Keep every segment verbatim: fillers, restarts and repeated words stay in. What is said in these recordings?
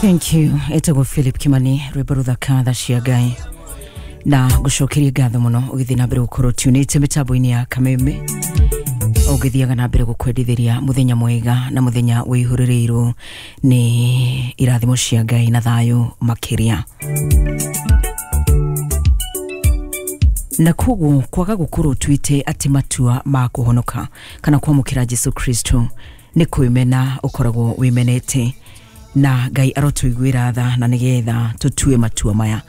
Thank you. Etagwo Philip Kimani, rwĩmbo rũthaka tha cia Ngai, na ngũcokerie ngatho mũno ũgĩthiĩ na mbere gũkorwo tunĩte mĩtambo-inĩ ya Kameme, ũgĩthiaga na mbere gũkwendithĩria mũthenya mwega na mũthenya wĩihũrĩrĩirwo nĩ irathimo cia Ngai na thayũ makĩria. Na koguo kwaga gũkorwo tuĩte atĩ matua ma kũhonoka kana kwamũkĩra Jesu Kristo nĩ kwĩmena ũkoragwo wĩmenete, na Ngai arotũiguĩra tha na nĩgetha tũtue matua maya,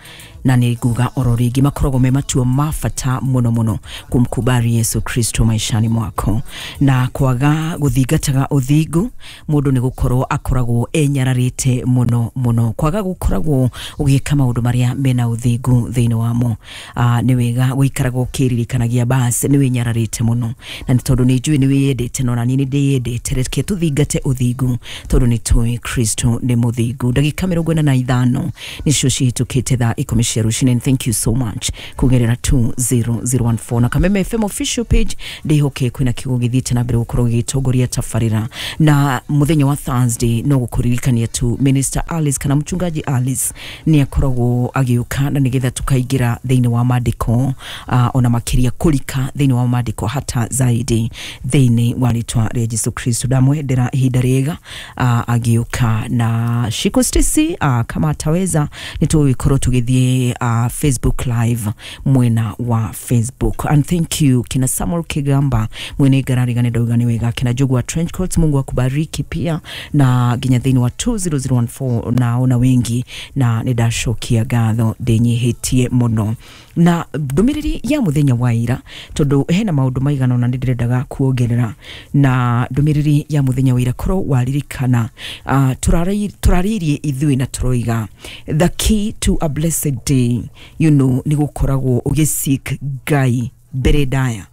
na nĩ nguga oro rĩngĩ makoragwo me matua ma bata mũno mũno kumkubali Yesu Kristo maishani mwako. Na kwaga gũthingataga ũthingu mũndũ nĩ gũkorwo akoragwo enyararĩte mũno mũno, kwaga gũkoragwo ũgĩka maũndũ marĩa mena ũthingu thĩinĩ wamo. Uh, nĩ wega gũikaraga ũkĩririkanagia bas nĩ wĩnyararĩte mũno, na nĩ tondũ nĩ njũĩ nĩ wĩyendete, no na niĩ nĩ ndĩyendete, reke tũthingate ũthingu tondũ nĩ tũĩ Kristo nĩ mũthingu. Ndagĩka mĩrongo ĩna na ithano nĩcio cihĩtũkĩte thaa ikũmi cia rũcinĩ. Thank you so much kugerera two zero zero one four na Kameme F M official page. Ndihoke kwina kiugo githiĩte na mbere gũkorwo gĩgĩtongoria tabarĩra, na mũthenya wa Thursday no gũkũririkania tu Minister Alice kana mchungaji Alice nĩ akoragwo agĩũka na nĩgetha tukaingĩra thĩinĩ wa maandĩko, uh, ona makĩria kũrika thĩinĩ wa maandĩko hata zaidi thĩinĩ wa rĩtwa rĩa Jesu Kristo. Ndamwendera ihinda rĩega uh, agĩũka na Shiko Stacy, uh, kama ataweza nĩtũgũgĩkorwo tũgĩthiĩ Uh, Facebook live mwena wa Facebook. And thank you kina Samuel Kigamba mwene garari gane ndauga nĩ wega, kina Jogu wa Trench Coats, Mungu akubariki pia, na nginya thĩinĩ wa two zero zero one four naona wengi, na nĩ ndacokia ngatho ndĩnyihĩtie mũno. Na ndũmĩrĩri ya mũthenya wa ira, tondũ hena maũndũ maigana ũna nĩndĩrendaga kuongerera, na ndũmĩrĩri ya mũthenya wa ira korwo waririkana, uh, tũrarĩirie ithuĩ na tũroiga the key to a blessed day, you know, nĩ gũkoragwo ũgĩseek Ngai mbere ndaya.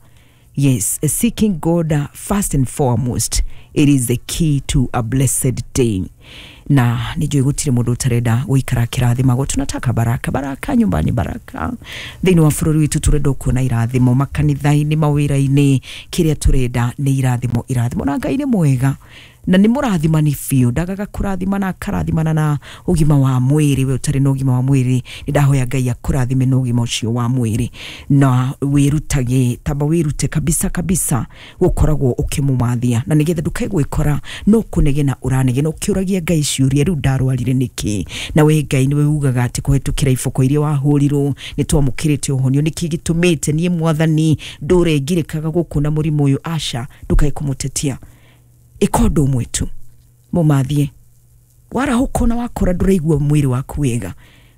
Yes, seeking God first and foremost, it is the key to a blessed day. Na nĩnjũĩ gũtirĩ mũndũ ũtarenda gũikara kĩrathimagwo. Tunataka baraka, baraka nyumbani, baraka thĩinĩ wa bũrũri witũ, tũrenda kuona irathimo makanitha-inĩ, mawĩra-inĩ, kĩrĩa tũrenda nĩ irathimo, irathimo. Na Ngai nĩ mwega na nĩ mũrathimani biũ, ndagaga kũrathimana, akarathimana na ũgima wa mwĩrĩ. We ũtarĩ na ũgima wa mwĩrĩ, nĩ ndahoya Ngai akũrathime na ũgima ũcio wa mwĩrĩ, na wĩrutage, tamba wĩrute kabisa kabisa gũkoragwo ũkĩmũmathia, na nĩgetha ndũkae gwĩkora no kũnegena ũranegena ũkĩũragia Ngai ciũria, rĩu ndarwarire nĩkĩ? Na we Ngai nĩwe ugaga atĩ kũhetũkĩra iboko iria wahũrirwo nĩ twamũkĩrĩte ũhonio, nĩkĩ gĩtũmĩte niĩ Mwathani ndũre ngirĩkaga gũkũ na mũrimũ ũyũ? Aca, ndũkae kũmũtetia, ĩka ũndũ ũmwe tu, mũmathie. Warahũka na wakora ndũraigua mwĩrĩ waku wega,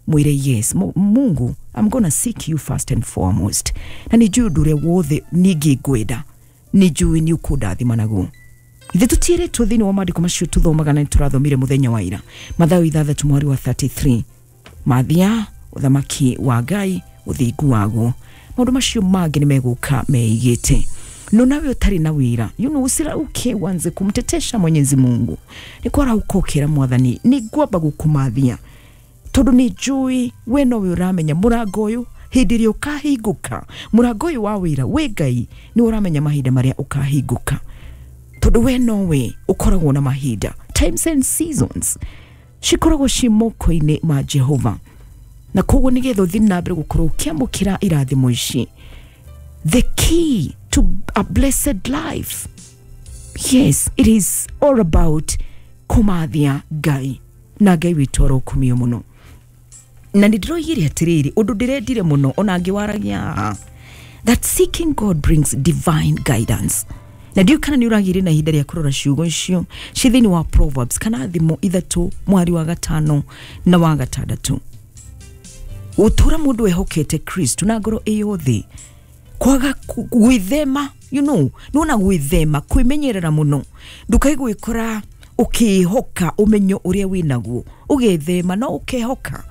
mwĩre yes, Mungu, I'm gonna seek you first and foremost, na nĩ njũĩ ũndũ ũrĩa wothe ningĩ ngwenda, nĩ njũĩ nĩ ũkũndathima naguo. Ithe tũtiĩrĩtwo thĩinĩ wa maandĩko macio tũthomaga na nĩtũrathomire mũthenya wa ira, Mathayo ithathatũ mweri wa thirty three, mathia ũthamaki wa Ngai, ũthingu waguo, maũndũ macio mangĩ nĩ megũka meigĩte. No nawe ũtarĩ na wĩra, you know, usirauke wanze kumtetesha Mwenyezi Mungu. Nĩ kwarahũka ũkĩra Mwathani, nĩ ngwamba gũkũmathia tondũ nĩ njũĩ we nowe ũramenya mũrango ũyũ hĩndĩ ĩrĩa ũkahingũka, mũrango ũyũ wa wĩra, we Ngai nĩ ũramenya mahinda marĩa ũkahingũka, tondũ we nowe ũkoragwo na mahinda. Times and seasons cikoragwo ci moko-inĩ ma Jehova, na koguo nĩgetha ũthiĩ na mbere gũkorwo ũkĩamũkĩra irathimo ici, the key to a blessed life, yes, it is all about kũmathia Ngai, na Ngai witũ arokumio mũno. Na nĩ ndĩroigire atĩrĩrĩ, ũndũ ndĩrendire mũno ona ngĩwaragia, that seeking God brings divine guidance. Na ndiũĩ kana nĩ ũragĩire na ihinda rĩa kũrora ciugo icio ci thĩinĩ wa Proverbs kana thimo ithatũ mwari wa gatano na wa gatandatũ. Ũtũra mũndũ ehokete Kristo na ngoro ĩyothe, kwaga gwĩthema, you know, nĩwona gwĩthema, kwĩmenyerera mũno, ndũkae gwĩkora ũkĩhoka ũmenyo ũrĩa wĩnaguo, ũgethema no ũkehoka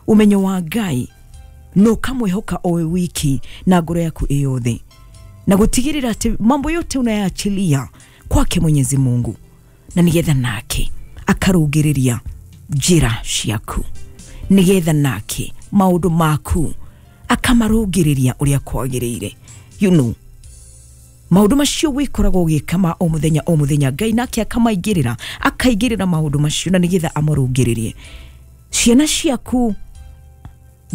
ũmenyo wa Ngai, no ũkamwĩhoka o we wiki na ngoro yaku ĩyothe, na gũtigĩrĩra atĩ mambo yote unayaachilia kwake Mwenyezi Mungu, na nĩgetha nake akarũngĩrĩria njĩra ciaku, nĩgetha nake maũndũ maku akamarũngĩrĩria ũrĩa kwagĩrĩire. You know, Maundu macio wikoragwo ugika ma o muthenya o muthenya, Ngai nake akamaingirira, akaingirira maundu macio na nigetha amarungiririe. Ciana ciaku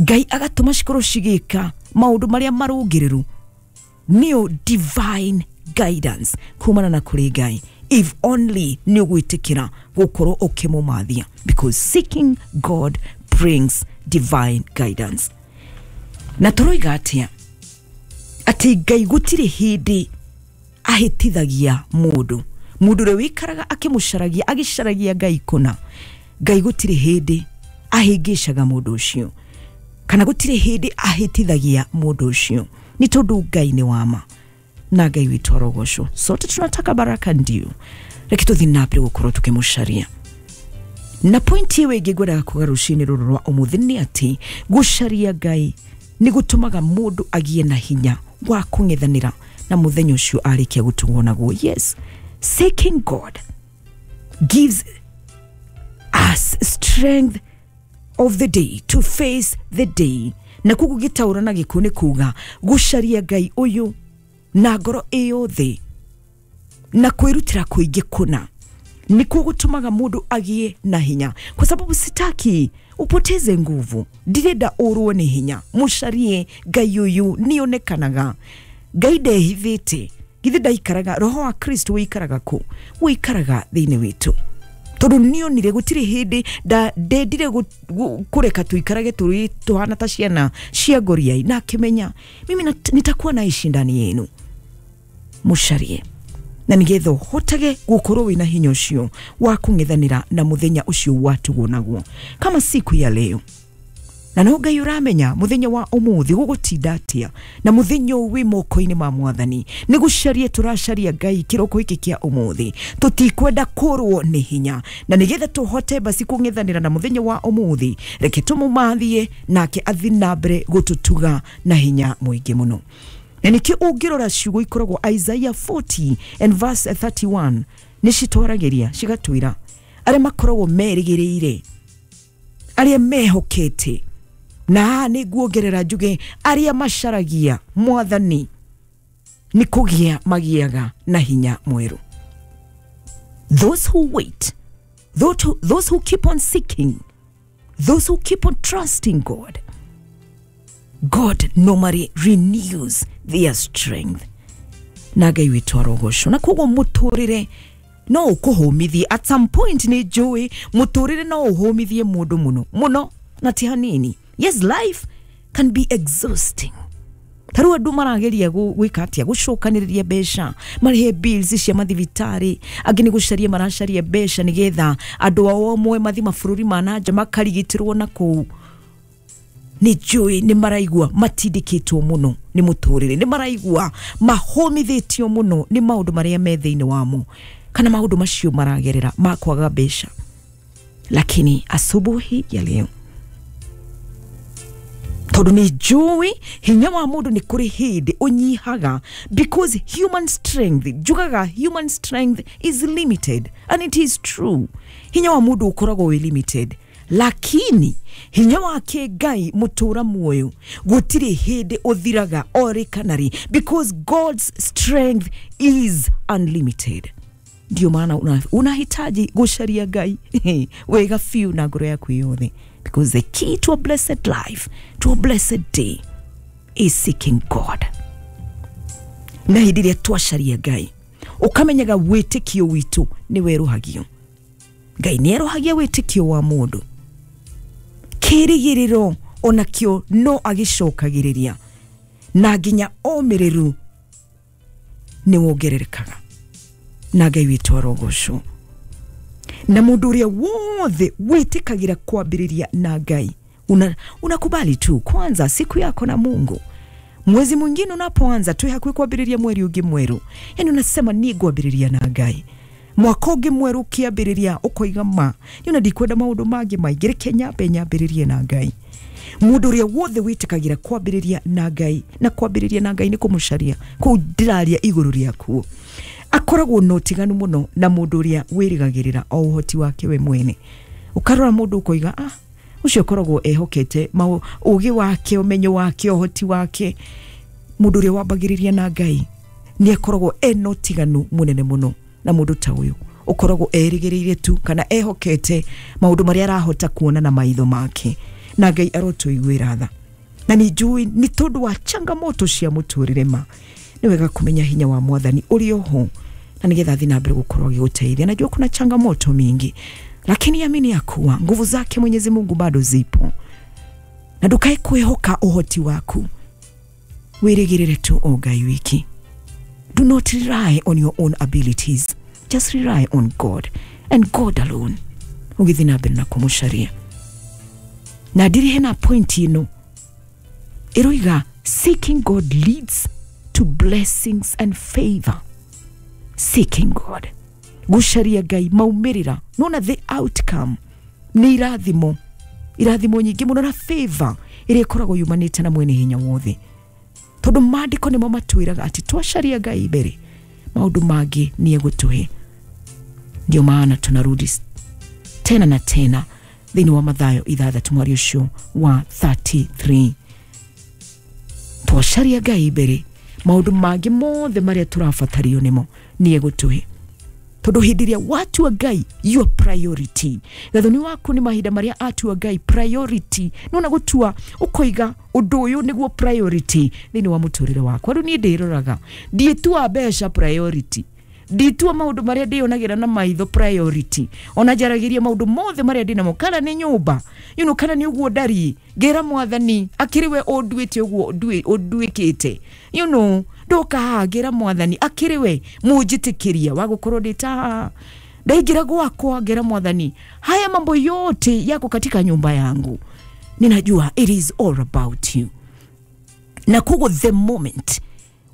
Ngai agatuma cikorwo cigika maundu maria marungiriru, niyo divine guidance kumana na kuri Ngai, if only ni ugwitikira gukorwo ukimumathia, because seeking God brings divine guidance. Na turoiga atia ati Ngai gutiri hindi ahitithagia mundu. Mundu uria wikaraga akimucaragia, agicaragia Ngai kuna, Ngai gutiri hindi ahingishaga mundu ucio, kana gutiri hindi ahitithagia mundu ucio, ni tondu Ngai ni wama na Ngai witu arogocwo. Sote tunataka baraka, ndio reke tuthi na mbere gukorwo tukimucaria. Na pointi ĩyo ĩngĩ ngwendaga kuga rũcinĩ rũrũ rwa ũmũthĩ nĩ atĩ gũcaria Ngai nĩ gũtũmaga mũndũ agĩe na hinya wa kũng'ethanĩra na mũthenya ũcio arĩkia gũtugwo naguo. Yes, seeking God gives us strength of the day to face the day. Na koguo gĩtaũra na gĩkũ nĩ kuga gũcaria Ngai ũyũ na ngoro ĩyothe na kwĩrutĩra kũingĩ kũna nĩkuo gũtũmaga mũndũ agĩe na hinya, kwa sababu sitaki upoteze nguvu, ndirenda ũrwo nĩ hinya. Mũcarie Ngai ũyũ, nĩonekanaga Ngai ndehithĩte, githĩ ndaikaraga, roho wa Kristo wĩikaraga kũ? Wĩikaraga thĩinĩ witũ. Tondũ nĩonire gũtirĩ hĩndĩ ndendire kũreka tũikarage tũrĩ tũhana ta ciana cia ngoriai, na akĩmenya mimi nitakuwa naishi ndani yenu. Mũcarie na nigetha ũhotage gũkorwo wĩna hinya ũcio wa kũng'ethanĩra na mũthenya ũcio watugwo naguo, kama siku ya leo. Na no Ngai ũramenya mũthenya wa ũmũthĩ gũgũtinda atĩa, na mũthenya ũyũ wĩ moko-inĩ ma Mwathani. Nĩ gũcaria tũracaria Ngai kĩroko gĩkĩ kĩa ũmũthĩ, tũtikwenda kũrwo nĩ hinya, na nĩgetha tũhote basi kũng'ethanĩra na mũthenya wa ũmũthĩ, reke tũmũmathie nake athi na mbere gũtũtuga na hinya mũingĩ mũno. Na nĩkĩo ũngĩrora ciugo ikoragwo Isaiah forty and verse thirty-one nĩ citwaragĩria cigatwĩra arĩa makoragwo merĩgĩrĩire, arĩa mehokete, na haha nĩ nguongerera njuge arĩa macaragia Mwathani nĩ kũgĩa magĩaga na hinya mwerũ. Those who wait, those who, those who keep on seeking, those who keep on trusting God, God normally renews their strength. Na Ngai witũ arogocwo. Na koguo mũtũrĩre no ũkũhũmithie at some point, nĩ njũĩ mũtũrĩre no ũhũmithie mũndũ mũno mũno na ti hanini. Yes, life can be exhausting. Tarĩu andũ marageria gwĩka atĩa, gũcokanĩrĩria mbeca marĩhe bills cia mathibitarĩ, angĩ nĩ gũcaria maracaria mbeca nĩgetha andũ ao amwe mathi mabũrũri ma na nja makarigitĩrwo na kũu. Nĩ njũĩ nĩ maraigua matindĩkĩtwo mũno nĩ mũtũrĩre, nĩ maraigua mahũmithĩtio mũno nĩ maũndũ marĩa me thĩinĩ wamo, kana maũndũ macio maragerera ma kwaga mbeca. Lakini asubuhi ya leo, tondũ nĩ njũĩ hinya wa mũndũ nĩ kũrĩ hĩndĩ ũnyihaga, because human strength, njugaga human strength is limited, and it is true. Hinya wa mũndũ ũkoragwo wĩ limited, lakini hinya wake Ngai mũtũra muoyo gũtirĩ hĩndĩ ũthiraga orĩ kana rĩ, because God's strength is unlimited. Ndio maana unahitaji gũcaria Ngai wega biũ na ngoro yaku yothe, because the key to a blessed life, to a blessed day, is seeking God. Na hĩndĩ ĩrĩa twacaria Ngai, ũkamenyaga wĩtĩkio witũ nĩ werũhagio. Ngai nĩ erũhagia wĩtĩkio wa mũndũ. Kĩrĩgĩrĩro onakĩo no agĩcokagĩrĩria, na nginya ũmĩrĩru nĩ wongererekaga. Na Ngai witũ arogocwo. Na mũndũ ũrĩa wothe wĩtĩkagĩra kwambĩrĩria na Ngai, una, unakubali tu kwanza siku yako na Mungu. Mwezi mwingine unapoanza tu hakuwi kwambĩrĩria mweri ũngĩ mwerũ, yani unasema ni ngwambĩrĩria na Ngai. Mwaka ũngĩ mwerũ ũkĩambĩrĩria ũkoiga ma niona ndikwenda maũndũ mangĩ maingĩ, reke nyambe nyambĩrĩrie na Ngai. Mũndũ ũrĩa wothe wĩtĩkagĩra kwambĩrĩria na Ngai, na kwambĩrĩria na Ngai nĩ kũmũcaria, kũu ndĩraria igũrũ rĩakuo, akoragwo na ũtiganu mũno na mũndũ ũrĩa wĩrĩgagĩrĩra o ũhoti wake we mwene. Ũkarora mũndũ ũkoiga ah, ũcio akoragwo ehokete ũgĩ wake, ũmenyo wake, ũhoti wake. Mũndũ ũrĩa wambagĩrĩria na Ngai Nĩ akoragwo ena ũtiganu mũnene mũno na mũndũ ta ũyũ ũkoragwo erĩgĩrĩire tu kana ehokete maũndũ marĩa arahota kuona na maitho make. Na Ngai arotũiguĩra tha. Na nĩ njũĩ nĩ tondũ wa changamoto cia mũtũrĩre ma nĩ wega kũmenya hinya wa mwathani ũrĩ oho, na nĩgetha thiĩ na mbere gũkorwo agĩgũteithia. Najua kuna changamoto mingi, lakini amini ya kuwa nguvu zake Mwenyezi Mungu bado zipo, na ndukae kwĩhoka ũhoti waku, wĩrĩgĩrĩre tu o Ngai wiki. Do not rely on your own abilities, just rely on God and God alone, ũgĩthiĩ na mbere na kũmũcaria. Na ndiri hena point ĩno ĩroiga, seeking God leads to blessings and favor. Seeking God, gũcaria Ngai, maumĩrĩra nona the outcome nĩ irathimo, irathimo nyingĩ mũno na favor ĩrĩa ĩkoragwo yumanĩte na mwene hinya wothe, tondũ maandĩko nĩmo matwĩraga atĩ twacaria Ngai mbere maũndũ mangĩ nĩ egũtũhe. Ndio maana tunarudi tena na tena thĩinĩ wa Mathayo ithathatũ mwari ũcio wa thirty-three. Twacaria Ngai mbere maũndũ mangĩ mothe marĩa tũrabatario nĩmo nĩ egũtũhe, tondũ hĩndĩ ĩrĩa watua Ngai your priority, gathoni waku nĩ mahinda marĩa atua Ngai priority, nona gũtua ũkoiga ũndũ ũyũ nĩguo priority thĩinĩ wa mũtũrĩre wakwa. Rĩu niĩ ndĩroraga ndiĩtua mbeca priority, nditua maũndũ marĩa ndĩyonagĩra na maitho priority, ona njaragĩria maũndũ mothe marĩa ndĩnamo, kana nĩ nyũmba you know, kana nĩ ũguo ndariĩ, ngĩra mwathani akĩrĩ we ũnduĩte ũguo ũnduĩkĩte, you know, ndoka haha ngĩra mwathani akĩrĩ we mũnjĩtĩkĩria wa gũkorwo ndĩ ta haha. Ndaingĩra gwakwa ngĩra mwathani haya mambo yote yako katika nyumba yangu, ninajua it is all about you. Na koguo the moment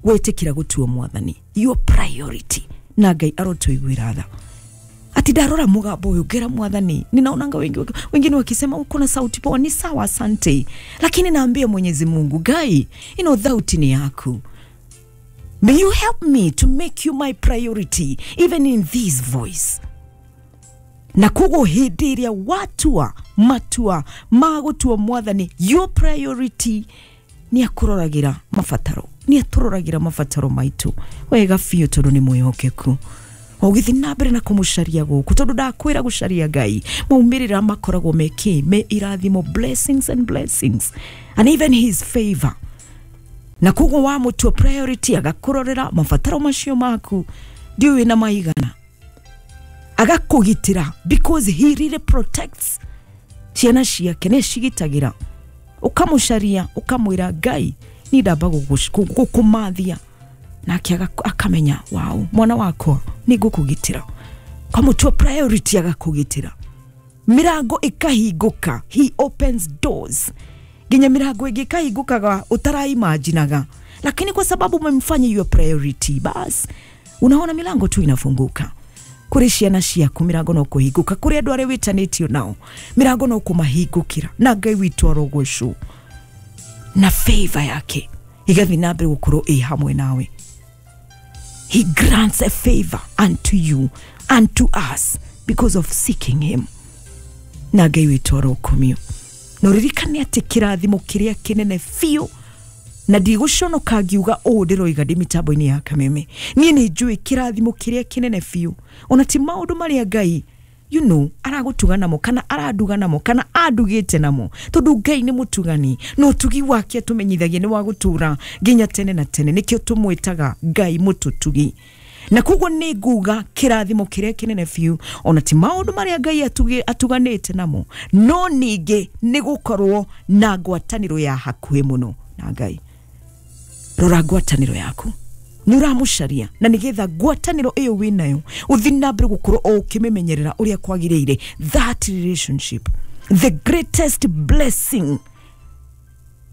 wetĩkĩra gũtua mwathani your priority, na Ngai arotũiguĩra tha. Ati ndarora mũgambo ũyũ ngĩra mwathani, ninaonanga wengi wengine wakisema uko na sauti poa, ni sawa, asante, lakini naambia Mwenyezi Mungu, Ngai, ino thauti ni yaku. May you help me to make you my priority even in this voice. Na koguo hĩndĩ ĩrĩa watua matua ma gũtua mwathani your priority, nĩ akũroragĩra mabataro, nĩ atũroragĩra mabataro maitũ wega biũ, tondũ nĩ mwĩhokeku. Ũgĩthiĩ na mbere na kũmũcaria gũkũ, tondũ ndakwĩra gũcaria Ngai maumĩrĩra makoragwo me kĩ, me irathimo, blessings and blessings and even his favor. Na koguo wamũtua priority agakũrorera mabataro macio maku, ndiũĩ na maigana, agakũgitĩra because he really protects ciana ciake, nĩ cigitagĩra. Ũkamũcaria ũkamwĩra Ngai ni ndamba gũkũmathia, nake akamenya wow, mwana wakwa nĩ ngũkũgitĩra. Kamũtua priority agakũgitĩra, mirango ĩkahingũka, he opens doors, nginya mirango ĩngĩ ĩkahingũkaga ũtaraimaginaga, lakini kwa sababu umemfanya your priority, bas unaona milango tu inafunguka. Kũrĩ ciana ciaku mirango no kũhingũka, kũrĩ andũ arĩa wĩtanĩtio nao mirango no kũmahingũkĩra, na Ngai witũ arogocwo na favor yake igathiĩ na mbere gũkorwo ĩ hamwe nawe. He grants a favor unto you and to us because of seeking him. Na Ngai witũ arokumio. Na ũririkane atĩ kĩrathimo kĩrĩa kĩnene biũ, na ndigũconoka ngiuga ũũ ndĩroiga ndĩ mĩtambo-inĩ ya Kameme, niĩ nĩ njũĩ kĩrathimo kĩrĩa kĩnene biũ ona ti maũndũ marĩa Ngai you know aragũtuga namo kana aranduga namo kana andugĩte namo, tondũ Ngai nĩ mũtugani na ũtugi wake atũmenyithagia nĩ wa gũtũra nginya tene na tene, nĩkĩo tũmwĩtaga Ngai mũtũtugi. Na koguo nĩ nguga kĩrathimo kĩrĩa kĩnene biũ ona ti maũndũ marĩa Ngai atuganĩte namo, no ningĩ nĩ gũkorwo na ngwatanĩro ya hakuhĩ mũno na Ngai. Rora ngwatanĩro yaku, nĩ ũramũcaria, na nĩgetha ngwatanĩro ĩyo wĩnayo ũthiĩ na mbere gũkorwo o ũkĩmĩmenyerera ũrĩa kwagĩrĩire. That relationship, the greatest blessing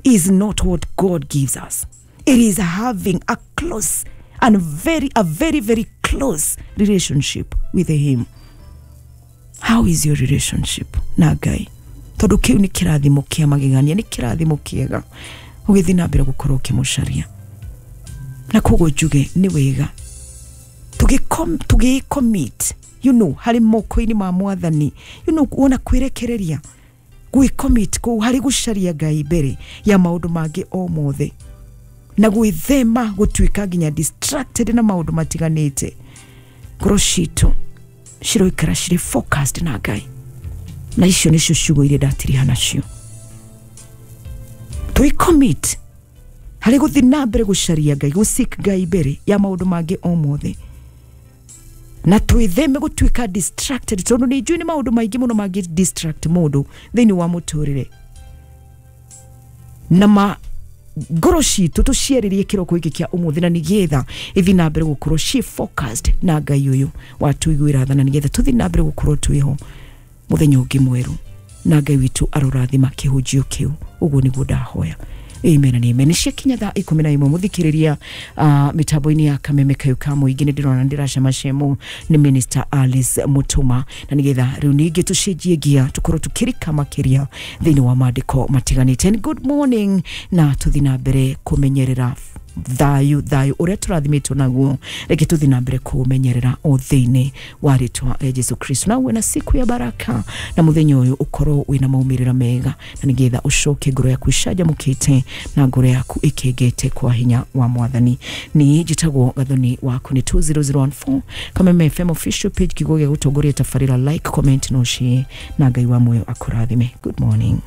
is not what God gives us, it is having a close and very a very very close relationship with him. How is your relationship na Ngai? Tondũ kĩu nĩ kĩrathimo kĩa magegania, nĩ kĩrathimo kĩega ũgĩthiĩ na mbere gũkorwo ũkĩmũcaria. Na koguo njuge nĩ wega tũgĩcommit, you know, harĩ moko-inĩ ma mwathani, you know, wona kwĩrekereria gwĩcommit kũu harĩ gũcaria Ngai mbere ya maũndũ mangĩ o mothe. Na gwĩthema gũtuĩka nginya distracted na maũndũ matiganĩte. Ngoro citũ ciroikara cirĩ focused na Ngai. Na icio nĩcio ciugo iria ndatiriha nacio. Tũi commit harĩ gũthiĩ na mbere gũcaria Ngai, gũ-seek Ngai mbere ya maũndũ mangĩ o mothe. Na twĩtheme gũtuĩka distracted, tondũ nĩ njũĩ nĩ maũndũ maingĩ mũno mangĩ distract mũndũ thĩinĩ wa mũtũrĩre. Na ma ngoro citũ tũciarĩrie kĩroko gĩkĩ kĩa ũmũthĩ, na nĩgetha ithiĩ na mbere gũkorwo ci focused na Ngai ũyũ watũiguĩra tha, na nĩgetha tũthiĩ na mbere gũkorwo twĩho mũthenya ũngĩ mwerũ, na Ngai witũ arorathima kĩhunjio kĩu. Ũguo nĩguo ndahoya. Amen and amen. Nĩ ciakinya thaa ikũmi na ĩmwe mũthikĩrĩria uh, mĩtambo-inĩ ya Kameme Kayũ ka Mũingĩ. Nĩ ndĩrona ndĩracemacemo nĩ Minister Alice Mutuma, na nĩgetha rĩu ningĩ tũcenjie ngia tũkorwo tũkĩrika makĩria thĩinĩ wa maandĩko matiganĩte. And good morning, na tũthiĩ na mbere kũmenyerera thayũ, thayũ ũrĩa tũrathimĩtwo naguo, reke tũthiĩ na mbere kũũmenyerera o thĩinĩ wa rĩtwa rĩa Jesu Kristo. Na uwe na siku ya baraka, na mũthenya ũyũ ũkorwo wĩna maumĩrĩra mega, na nĩgetha ũcoke ngoro yaku icanjamũkĩte na ngoro yaku ĩkĩngĩte kwa hinya wa Mwathani. Niĩ njĩtagwo Gathoni waku nĩ two zero zero one four Kameme F M official page, kiugo gĩa gũtongoria tabarĩra, like, comment no share, na Ngai wa muoyo akũrathime. Good morning.